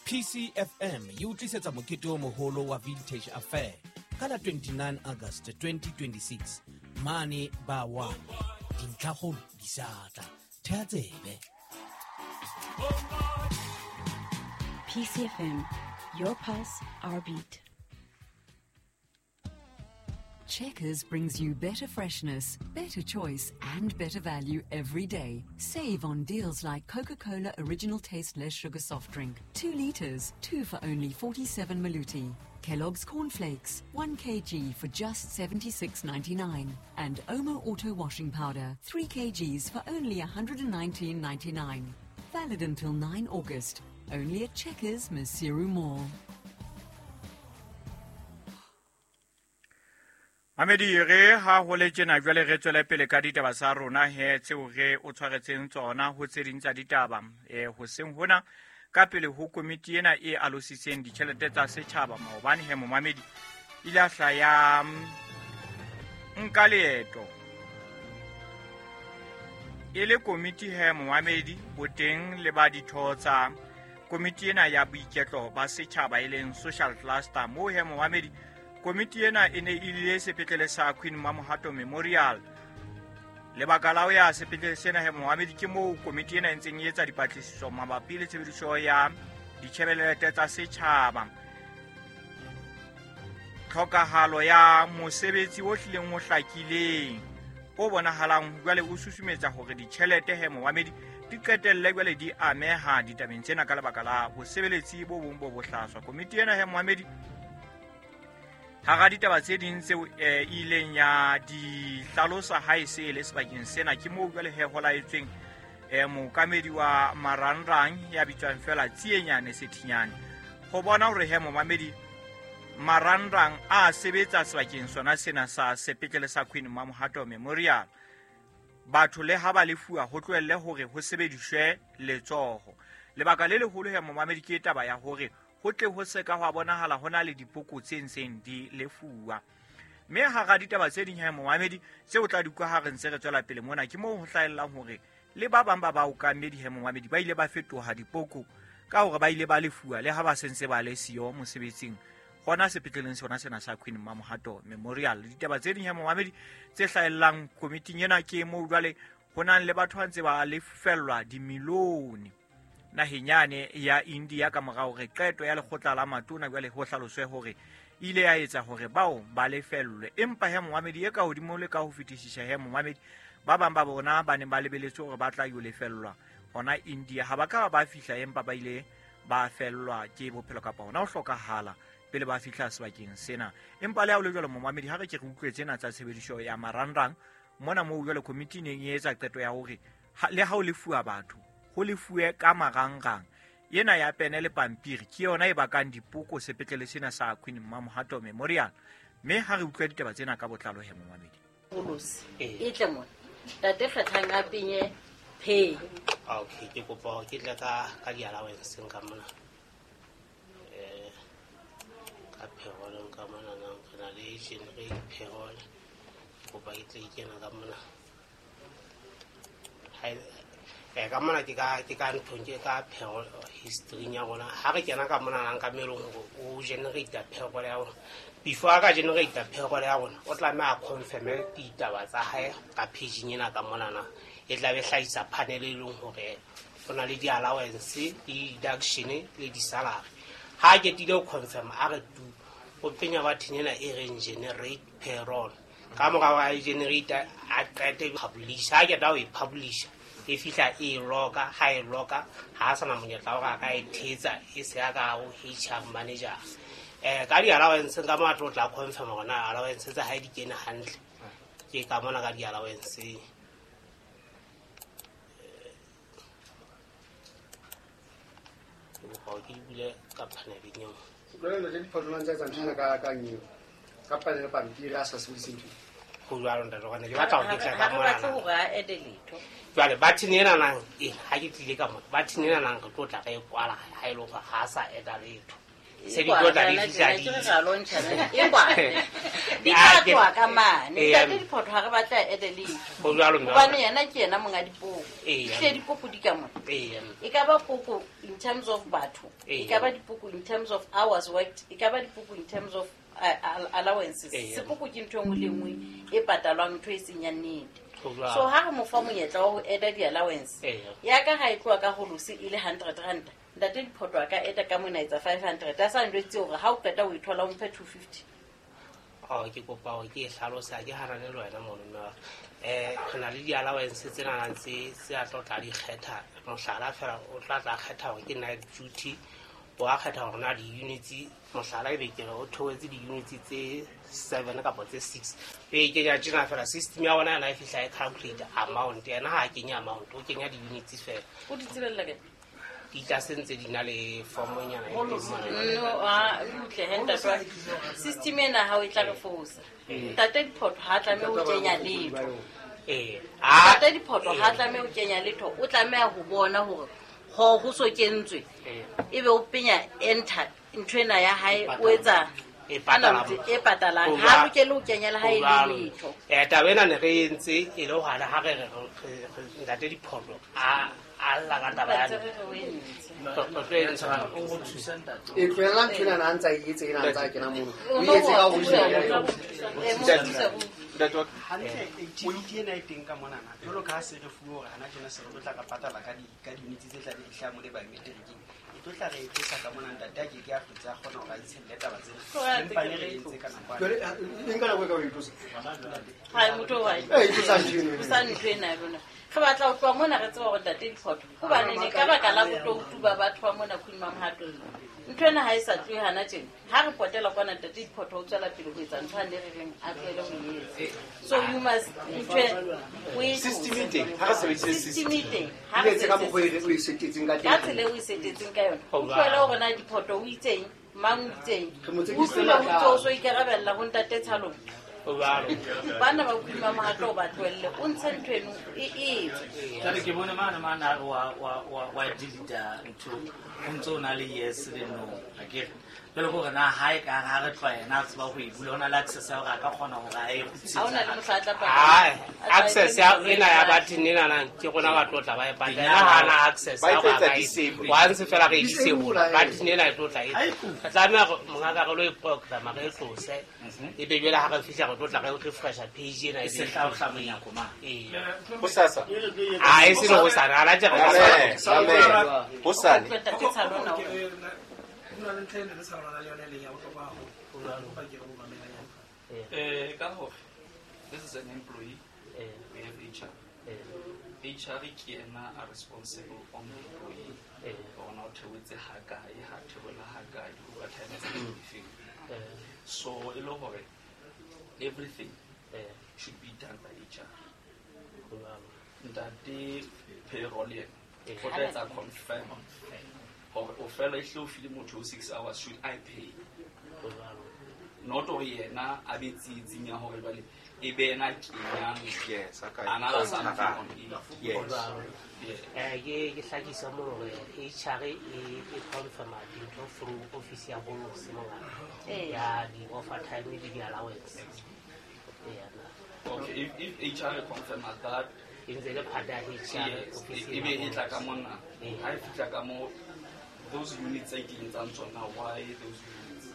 PCFM e o tlisetsa mokete o moholo wa Vintage Affair ka la 29 August 2026 mane ba 1. Dintlhakgolo di sa tla. Thea tsebe. PCFM, your pulse, our beat. Checkers brings you better freshness, better choice, and better value every day. Save on deals like Coca-Cola Original Taste Less Sugar Soft Drink, 2 liters, 2 for only 47 maluti. Kellogg's Cornflakes, 1 kg for just 76.99. And Omo Auto Washing Powder, 3 kgs for only 119.99. Valid until 9 August. Only at Checkers, Maseru Mall. Mamedi re ha ho le tjena jwale re tswele pele ka ditaba tsa rona he tseo re o tshwaretseng tsona ho tse ding tsa ditaba hoseng hona ka pele ho komiti ena e alositseng ditjhelete tsa setjhaba maobane he momamedi ile a hlaya nka leeto e le komiti he momamedi boteng le ba ditho tsa komiti ena ya boiketlo ba setjhaba e leng social cluster moo he momamedi komiti ena e ne e ile sepetlele sa Queen Mamohato Memorial. Lebaka la ho ya sepetlele sena he momamedi ke moo komiti ena e ntseng e etsa dipatlisiso mabapi le tshebediso ya ditjhelete tsa setjhaba. Tlhokahalo ya mosebetsi o hlileng o hlakileng o bonahalang jwale o susumetsa hore ditjhelete he momamedi di qetelle jwale di ameha ditabeng tsena ka lebaka la bosebeletsi bo bong bo bohlaswa. Komiti ena he momamedi hara ditaba tse ding tseo e ileng ya di hlalosa ha e se le sebakeng sena ke moo jwale he ho laetsweng mookamedi wa marangrang ya bitswang fela Tsienyane Sethinyane ho bona hore he momamedi marangrang a sebetsa sebakeng sona sena sa sepetlele sa Queen Mamohato Memorial. Batho le ha ba lefuwa ho tlohelle hore ho sebediswe letsoho. Lebaka le leholo he momamedi ke taba ya hore ho tle ho se ka hwa bonahala ho na le dipoko tse ntseng di lefuwa. Mme hara ditaba tse ding he momamedi tseo tla di utlwa ha re ntse re tswela pele mona ke moo ho hlahellang hore le ba bang ba baokamedi he momamedi ba ile ba fetoha dipoko ka hore ba ile ba lefuwa le ha ba sentse ba le siyo mosebetsing hona sepetleleng sona sena sa Queen Mamohato Memorial. Ditaba tse ding he momamedi tse hlahellang komiting ena ke moo jwale ho nang le batho ba ntse ba lefellwa dimilione naheng yane ya India ka morao hore qeto ya lekgotla la matona jwale ho hlaloswe hore ile ya etsa hore bao ba lefellwe. Empa he momamedi e ka hodimo le ka ho fetisisa he momamedi ba bang ba bona ba neng ba lebeletse hore ba tla yo lefellwa hona India ha ba ka ba fihla empa ba ile ba fellwa ke bophelo kapa hona ho hlokahala pele ba fihla sebakeng sena. Empa le ha ho le jwalo momamedi ha re ke re utlwe tsena tsa tshebediso ya marangrang mona moo jwale komiti e neng e etsa qeto ya hore le ha ho lefuwa batho ho lefuwe ka marangrang. Ena ya pene le pampiri ke yona e bakang dipoko sepetlele sena sa Queen Mamohato Memorial. Mme ha re utlwe ditaba tsena ka botlalo he momamedi. E tle mona. Tate kgethang a penye pay. Okay, ke kopa hore ke tle ka di-allowance ka mona. Ka payroll ka mona nang re na le generate payroll. Ke kopa ke tle ke kena ka mona. Ka mona ke ka nthong ke ka payroll history ya rona. Ha re kena ka mona nang ka melong hore o generate payroll ya rona. Before a ka generate payroll ya rona, o tlameha a confirm ditaba tsa hae ka page ena ka mona na. E tla be hlahisa panel e leng hore ho na le di-allowance, le deduction le di-salary. Ha ke tile ho confirm a re tu o penya button ena e reng generate payroll. Ka mora wa generate a qete publish. Ha ke ta o e publish e fihla e loka, ha e loka ha sa na monyetla hore a ka e thetsa e se ya ka ho HR manager. Ka di-allowance ka mo a tlo tla confirm hore na allowance tsa hae di kene hantle. Ke ka mona ka di-allowance. Ke di bule ka paneleng eo. Jwale le diphatlolang tsa tsamaiso ka eng? Ka panel pampiri a sa sebedise ntho. Ho jwalo ntate hobane ke batla hore ke tle ka Ha re mona. batle hore a ede letho. Jwale button ena nang ha ke tlile ka mona. Button ena nang re tlo tla re e kwala ha e le hore ha sa eda letho. Se di tlo tla di fihla di di tla tloha ka mane. Ntate Diphoto ha re batla ede letho. Hobane yena ke yena monga dipoko. Ehlile dipoko di ka mona. E ka ba poko in terms of batho, e ka ba dipoko in terms of hours worked, e ka ba dipoko in terms of allowances. Sepoko ke ntho e nngwe le nngwe e patalwang, ntho e seng ya nnete. So ha re mo fa monyetla wa ho eda di-allowance, ya ka ha e tloha ka holose e le 100 rand, ntate Diphoto a ka eta ka mona etsa 500. A sa njwetse hore ha o qeta o e thola o mphe 250. Ke kopa hore ke e hlalosa, ke hanane le wena mono mme wa ka. Re na le di-allowance tse nanang tse a tlo tla di kgetha. Mohlala fela o tla tla kgetha hore ke night duty, o a kgetha hore na di-units, mohlala ebe ke re o theohetse di-units tse 7 kapa tse 6. E kenya tjena fela system ya bona yona e fihla e calculate amount. Yena ha a kenya amount, o kenya di-units fela. O di tsebella kae? Di tla se ntse di na le formonyana e teng mona. No, a utle he ntate wa system ena ha o e tla re fosa. Ntate Diphoto ha tlameha ho kenya letho. Ntate Diphoto ha tlameha ho kenya letho, o tlameha ho bona hore ho so kentswe. Ebe o penya enter ntho ena ya hae, o etsa E patala. E patalang. Ha lokele ho kenya le ha e le letho. Taba ena ne re entse e le hore ha re re ntate Diphoto a lla ka taba ya E tlohella ntho ena a ntsa e etse, ena a ntsa kena mono. O etse ka ho Ntate wa Hantle, activity ena e teng ka monana. Jwalo ka ha se re fuwe hore hana tjena se re tlo tla re patala ka di-units tse tla be di hlaha mo le biometricing. E tlo tla re e tlosa ka mona, ntate a keke a hlotse a kgona hore a itshelle taba tsena. Empa ne re entse ka nako Jwale, e nka nako e ka o e tlosa? Ha motho wa E tlosa ntho eno. Tlosa ntho ena ya lona. Re batla ho tloha mona re tseba hore ntate Diphoto, hobane ne ka baka la botoutu ba batho ba mona Queen Mamohato. Ntho ena ha e sa tlohe hana tjena. Ha re potela kwana ntate Diphoto o tswela pele ho etsa ntho a ne re reng a tlohele ho e etsa. So you must ntho o e System e teng, ha re sebedise system e teng. Ha re etse ka mokgwa o e setetseng ka ka teng. tsela eo o e setetseng ka yona. O tlohele hore na Diphoto o itseng, mang o itseng. Re mo tsekisitse O utlwile ho matlalo. ntso o so ikarabella ho ntate Tshalong. Bana ba Queen Mamohato o ba tlohelle, o ntshe ntho eno e etswe. Jwale ke bone mane mane a re wa delete ntho, o ntso o na le yes le no, akere. Jwale ke hore na ha e ka ha re tloha yena a tseba ho e bula, o na le access ya hore a ka kgona hore a e Ha o na le mohla a tla Ai, access ya ena ya button ena na ke rona ba tlo tla ba e patala. Yena ha ana access Ba ya hore a etsetsa ka e disable. Once fela re e disable, Disable, button ena e tlo tla e. Re tlameha hore mongaka re lo e program re e tlose. Ebe jwale ha re fihla re tlo tla re refresha page ena E se tla o hla monyako mane. Hosasa. Ah, e se le hosane, ha la tje re Amen. Amen. Hosane. Ntate Tshalona o Ho na le ntlha e ne re sa rona le yona e leng ya bohlokwa haholo. Kopa ke re o mamela yona. Ka hore this is an employee, we have HR. HR ke yena a responsible on the employee. Hore na o theohetse ha kae, ha theohela ha kae, di-overtime tse difeng. So e le hore everything should be done by HR. Ntate payroll yena o tla etsa confirm hore o fela ehlile o file motho o 6 hours, should I pay? Not hore yena a be tsietsing ya hore jwale e be yena a kenyang Yes, a ka another something on it. Yes. Yeah. Ke hlakisa mo hore HR e confirma dintho through office ya holose mongaka. Ya di-overtime le di-allowance. Okay, if HR confirm that, E ntse le part ya HR yes, office e be e tla ka mona. Ha e fihla ka mo those units tse kenyetsang tsona, why those units?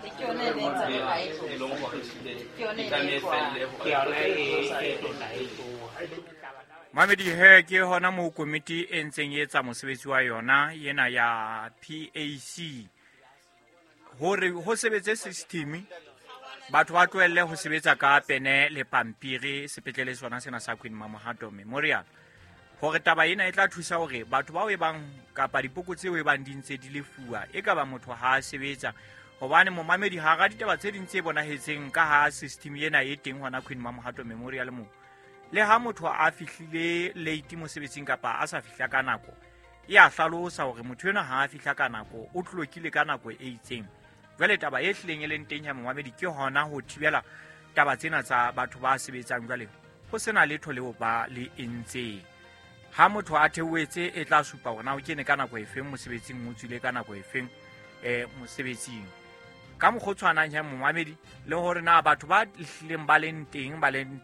Ke yona e ne e ntse ha e E leng hore ehlile Ke yona e e tlameha ne e e tloha. felle hore Ke yona e tlo tla e tloha. Mamedi he ke hona moo komiti e ntseng e etsa mosebetsi wa yona ena ya PAC hore ho sebetse system, batho ba tlohelle ho sebetsa ka pene le pampiri sepetlele sona sena sa Queen Mamohato Memorial, hore taba ena e tla thusa hore batho bao e bang kapa dipoko tseo e bang di ntse di lefuwa e ka ba motho ha a sebetsa. Hobane momamedi, hara ditaba tse ding tse bonahetseng ka ha system ena e teng hona Queen Mamohato Memorial moo, le ha motho a fihlile late mosebetsing kapa a sa fihla ka nako, e a hlalosa hore motho enwa ha a fihla ka nako o tlokile ka nako e itseng. Jwale taba e hlileng e leng teng ya momamedi ke hona ho thibela taba tsena tsa batho ba sebetsang jwale ho sena letho leo ba le entseng. Ha motho a theohetse e tla supa hore na o kene ka nako efeng mosebetsing, o tswile ka nako efeng. mosebetsing. Ka mokgwa o tshwanang he momamedi, le hore na batho ba hlileng ba leng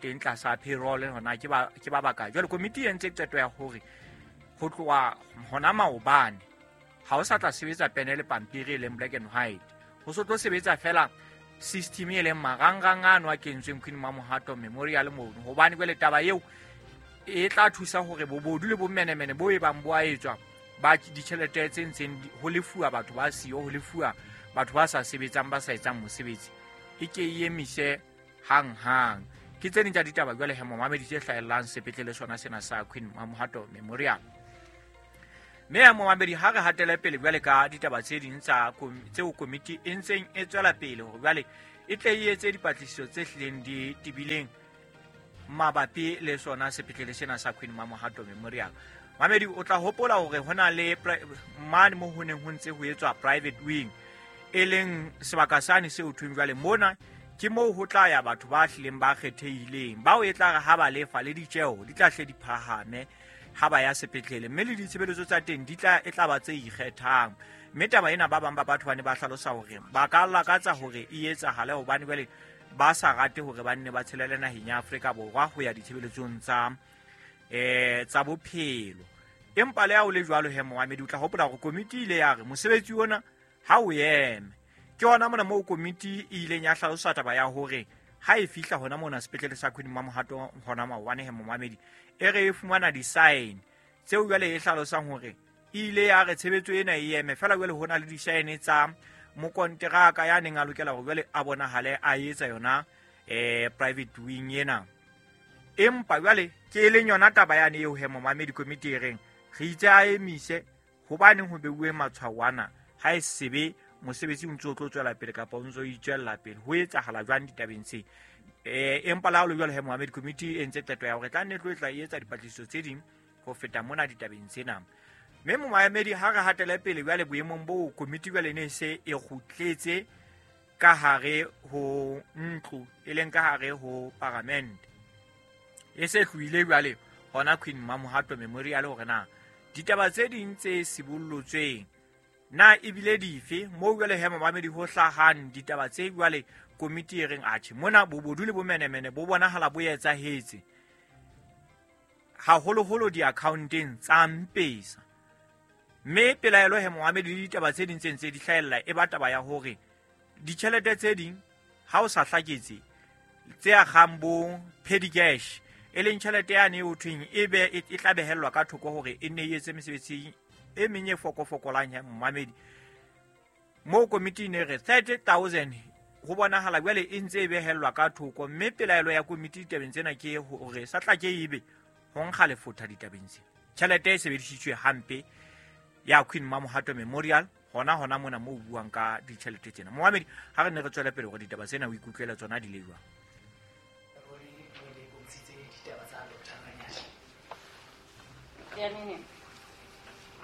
teng tlasa payroll hona ke ba bakae. Jwale komiti e entse qeto ya hore ho tloha hona maobane ha o sa tla sebetsa pene le pampiri e leng black and white, ho so tlo sebetsa fela system e leng marangrang ano a kentsweng Queen Mamohato Memorial mono, hobane jwale taba eo e tla thusa hore bobodu le bomenemene bo e bang bo a etswa ba ditjhelete tse ntseng ho lefuwa batho ba siyo, ho lefuwa batho ba sa sebetsang, ba sa etsang mosebetsi, e ke e emise hang-hang. Ke tse ding tsa ditaba jwale he momamedi tse hlahellang sepetlele sona sena sa Queen Mamohato Memorial. Mme ya momamedi, ha re hatele pele jwale ka ditaba tse ding tseo komiti e ntseng e tswela pele hore jwale e tle e etse dipatlisiso tse hlileng di tebileng mabapi le sona sepetlele sena sa Queen Mamohato Memorial. Mamedi, o tla hopola hore hona le mane mo ho neng ho ntse ho etswa private wing, e leng sebaka sane seo thweng jwale mona ke moo ho tla ya batho ba hlileng ba kgethehileng, bao e tla re ha ba lefa le ditjeho di tla hle di phahame ha ba ya sepetlele, mme le ditshebeletso tsa teng di tla e tla ba tse ikgethang. Mme taba ena ba bang ba batho ba ne ba hlalosa hore ba ka lakatsa hore e etsahale, hobane jwale ba sa rate hore ba nne ba tshelele naheng ya Afrika Borwa ho ya ditshebeletsong tsa bophelo. Empa le ha o le jwalo he momamedi, o tla hopola hore komiti e ile ya re mosebetsi ona ha o eme. Ke hona mona moo komiti e ileng ya hlalosa taba ya hore ha e fihla hona mona sepetlele sa Queen Mamohato hona maobane he momamedi, e re e fumana di-sign tseo jwale e hlalosang hore e ile ya re tshebetso ena e eme fela, jwale hona le di-sign tsa mokonteraka ya neng a lokela hore jwale a bonahale a etsa yona private wing ena. Empa jwale ke e leng yona taba yane eo he momamedi komiti e reng re itse a emise hobaneng ho beuwe matshwao ana, ha e sebe mosebetsi o ntse o tlo tswela pele kapa o ntse o itswella pele, ho etsahala jwang ditabeng tse. Empa le ha o le jwalo he momamedi, komiti e entse qeto ya hore tla nne tlo e tla etsa dipatlisiso tse ding ho feta mona ditabeng tsena. Mme momamedi, ha re hatele pele jwale boemong boo komiti jwale ne se e kgutletse ka hare ho ntlo, e leng ka hare ho paramente, e se tlohile jwale hona Queen Mamohato Memorial hore na ditaba tse ding tse sibollotsweng na ebile dife moo jwale he momamedi ho hlahang ditaba tse jwale komiti e reng atjhe mona bobodu le bomenemene bo bonahala bo etsahetse haholoholo di-accounteng tsa Mpesa. Mme pelaelo he momamedi le ditaba tse ding tse ntse di hlahella e ba taba ya hore ditjhelete tse ding ha o sa hlaketse tse akgang bo petty cash, e leng tjhelete yane eo thweng e be e tla behellwa ka thoko hore e nne e etse mesebetsi e meng e fokofokolang ya momamedi. Moo komiti e ne re 30,000 ho bonahala jwale e ntse e behellwa ka thoko, mme pelaelo ya komiti ditabeng tsena ke hore sa tla ke ebe ho nkga lefotha ditabeng tsena. Tjhelete e sebedisitswe hampe ya Queen Mamohato Memorial hona mona moo buang ka ditjhelete tsena. Momamedi, ha re ne re tswele pele hore ditaba tsena o ikutlwela tsona di le jwang. Ya nene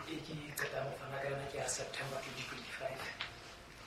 e ke qeta ho fana ka yona ke ya September 2025.